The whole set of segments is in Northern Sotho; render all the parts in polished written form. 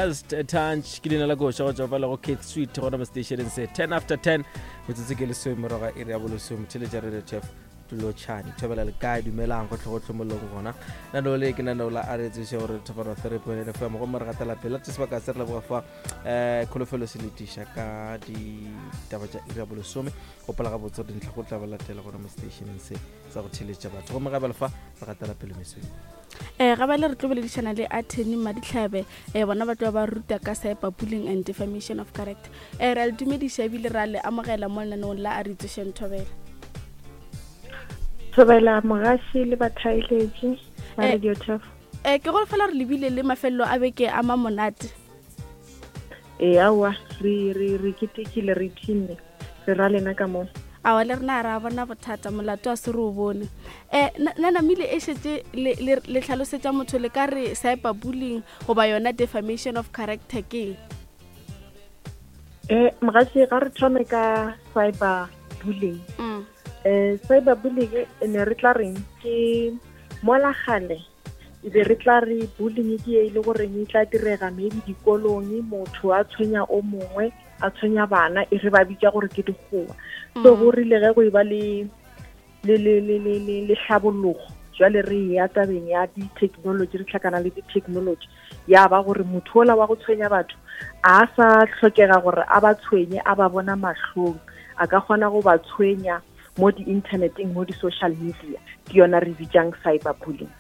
Just a Touch ke leina la koša go tšwa fa lego Keith Sweet gona mo stationeng se 10 after 10 metsotso ke lesome morago ga iri ya bolesome theletša radio tf tulotšhane thobela le kae dumelang gotlhe-gotlhe mo leng gona nano le ke nano la a re tsebiša gore thobana 3.8 fm gomme re gatela pele tse sebaka se re leboga fa um kholofelo se letiša ka ditaba tša iri ya bolesome gopola gabotse gore dintlha go tla ba latela gona mo stationeng se sa go theletša batho gomme ga bjale fa re gatela pele mesong. Um ga bale re tlo boledišana le attorney Madihlabe um bona ba tlo ba ruta ka cyber bullying and defamation of character. Um re a le dumediša ebile ra le amogela mo lenaneong la a re itsošeng thobela. Thobela mogaši le bathaeletši ba eh, Radio Turf. Eh, ke go fela re lebile le mafelelo a beke a ma monate. Ee aowa re re re ketekile re ipshinne. Re ra lena ka mo. Awa le rena ra bona bothata molato a se re o bone. Um na namile e šetše le hlalosetša motho le ka re cyber bullying goba yona defamation of character ke eng? Um mogatši ga re thome ka cyber bullying. Um cyber bullying e ne re tla reng ke mola gale e be re tla re bullying ke e le goreng e tla direga maybe dikolong motho a tshwenya o mongwe a tshwenya bana e re ba bitša gore ke dikgowa so go rile ge go e ba le le le le le le le tlhabologo jwale re ya tabeng ya di-technology re tlhakana le di-technology ya ba gore motho ola wa go tshwenya batho a sa tlhokega gore a ba tshwenye a ba bona mahlong a ka kgona go ba tshwenya mo di-interneteng mo di-social media ke yona re bitsang cyber bullying.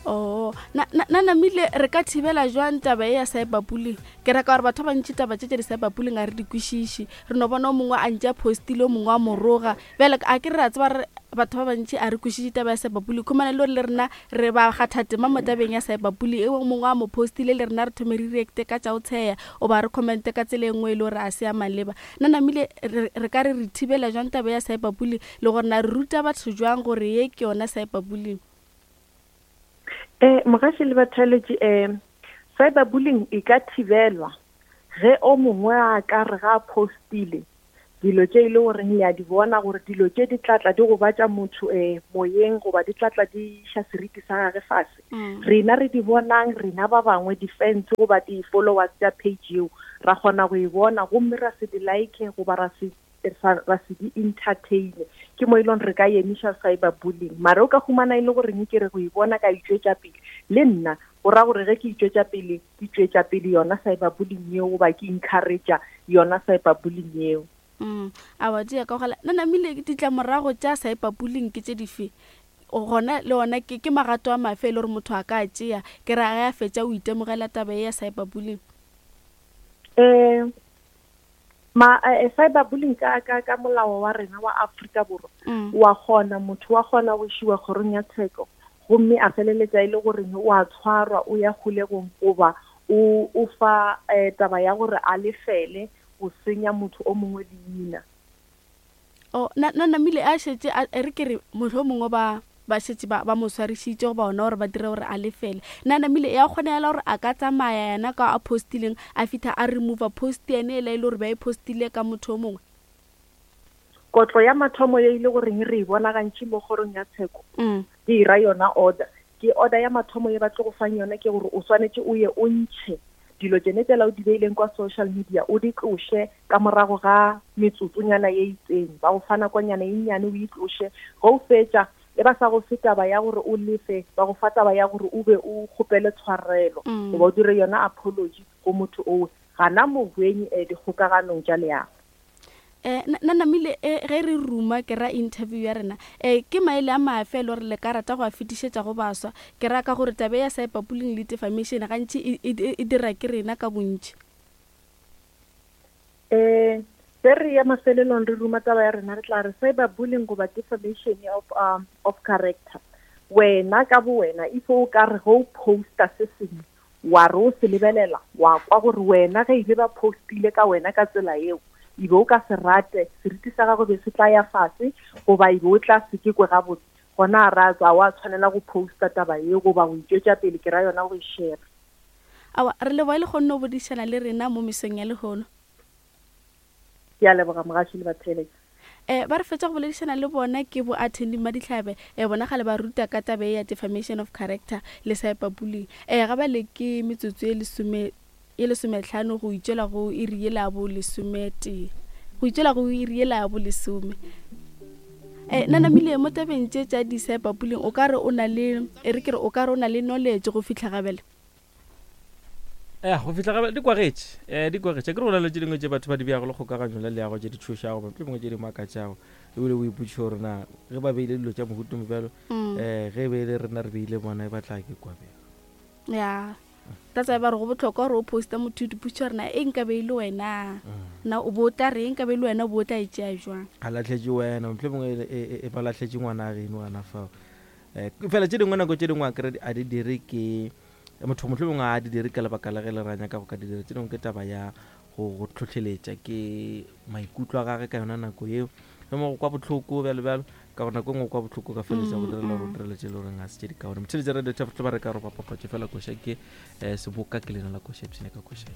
Oh, na na namile re ka thibela jwang taba e ya cyber bullying? Ke raka gore batho ba bantši taba tše tša di-cyber bullying ga re di kwešiše. Re no bona o mongwe a ntše a postile o mongwe a moroga. Bjale a ke re a tseba re batho ba bantši a re kwešiše taba ya cyber bullying. Khumana le gore le rena re ba kgatha tema mo tabeng ya cyber bullying. E o mongwe a mo postile le rena re thome re reacte ka tša go tsheya goba re commente ka tsela e nngwe e le gore a se ya maleba. Na namile re re ka re re thibela jwang taba ya cyber bullying le gore na re ruta batho jwang gore ye ke yona cyber bullying? Eh, mogaši le batheeletši, eh, cyber bullying e ka thibelwa ge o mongwe a ka re ga a postile dilo tše e le goreng le a di bona gore dilo tše di tlatla di gobatša motho eh, moyeng goba di tlatla di iša seriti sa gage fase. Rena re di bonang, rena ba bangwe di-fans goba di-followers tša page yeo, ra kgona go e bona gomme ra se di like goba ra se ra se di entertaine. Ke mo e leng re ka emiša cyber bullying. Mara o ka humana e le goreng ke re go e bona ka itšwetša pele le nna, go ra gore ge ke itšwetša pele, ke tšwetša pele yona cyber bullying yeo goba ke encouragea yona cyber bullying yeo. Mm, awa di ya ka gala. Na namile ditlamorago tša cyber bullying ke tše dife? Gona le ona ke ke magato a mafe e le gore motho a ka a tšea? Ke ra ge a fetša o itemogela taba ye ya cyber bullying. Eh, ma eh, cyber bullying ka ka ka molao wa rena wa Afrika Borwa mm. wa kgona motho wa kgona go išiwa kgorong ya tsheko gomme a feleletša e le gore o a tshwarwa o ya kgolegong goba o o fa eh, taba ya gore a lefele go senya motho o mongwe leina. Oh, na, na namile a šetše a, e re ke re mohlomongwe ba ba šetše ba, ba mo swarišitše goba ona gore ba dire gore a lefele. Na namile ya kgonagala gore a ka tsamaya yena ka a postileng a fitha a remover post yane ela e le gore ba e postile ka motho o mongwe? Kotlo ya mathomo ye e le goreng re e bona gantši mo kgorong ya tsheko, mm. ke e ra yona order. Ke order ya mathomo ye ba tlo go fang yona ke gore o swanetše o ye o ntšhe dilo tšene tšela o di beileng kwa social media o di tloše ka morago ga metsotsonyana ye itseng, ba go fa nakonyana e nnyane o e tloše. Ge o fetša, e ba sa go fe taba ya gore o lefe, ba go fa taba ya gore o be o kgopele tshwarelo mm. goba o dire yona apology go motho owe gana mohweng eh, dikgokaganong tša leago. Eh, na namile eh, ge re ruma ke ra interview ya rena eh, ke maele a mafe e le gore le ka rata go a fetišetša go baswa ke ra ka gore tabe ya cyberbullying le defamation gantši e, e, e, e dira ke rena ka bontši Eh, ge re ya mafelelong re ruma taba ya rena re tla re cyber bullying goba defamation of, um, of character wena ka bo wena if o ka re ge o posta se sengwe wa re o se lebelela wa kwa gore wena ge ile ba postile ka wena ka tsela eo e be o ka se rate seriti sa gago be se tla ya fase goba e be o tla se ke kwe gabotse gona a ra tswa wa tshwanela go posta taba eo goba go itšwetša pele ke ra yona go e share. Aowa, re leboga e le kgonne go bodišana le rena mo mesong ya lehono. Ke a leboga mogaši le batheeletši. Um ba re fetša go boledišana le bona ke bo Attending Madihlabe, um bona gale ba ruta ka taba ye ya defamation of character le cyber bullying. Um ga bale ke metsotso ye lesome ye lesometlhano go itšwela go iri yela ya bo lesometee, go itšwela go iri yela ya bo lesome. Um na namile mo tabeng tše tša di-cyber bullying o ka re o na le, e re ke re o ka re o na le knowledge go fihla ga bjale? Ya, go fihla ga di kwagetše, um di kwagetše. Akere go na le tše dingwe tše batho ba di beago le kgokaganyo la leago tše di tšhošago, goba mohlomongwe tše di makatšago, ebile o ipotšiša gore na ge ba beile dilo tša mohuta o mobjalo, um ge e be e le rena re beile bona e ba tla ke kwa bjang. Ya, that's why ba re go bohlokwa gore o poste motho o ipotšiša gore na e nka be e le wena, na o bo o tla reng, nka be e le wena o bo o tla e tšea jwang. A lahletše wena, mohlomongwe e, e, e, e ba lahletše ngwana geno gana fao. Um fela tše dingwe nako tše dingwe akere a di dire ke Motho mohlomongwe ga a di dire ka lebaka la ge le re a nyaka go ka di dira. Tše dingwe ke taba ya go go tlhohleletša ke maikutlo a gage ka yona nako yeo. Mohlomongwe go kwa bohloko bjalo bjalo, ka gore nako e nngwe o kwa bohloko o ka feleletša go direla gore o direle tše e le goreng ga se tše di kaone. Motheeletši Radio Tafo ba re ka roba papatšo fela koša ke um seboka ke leina la koša ipshine ka koša ye.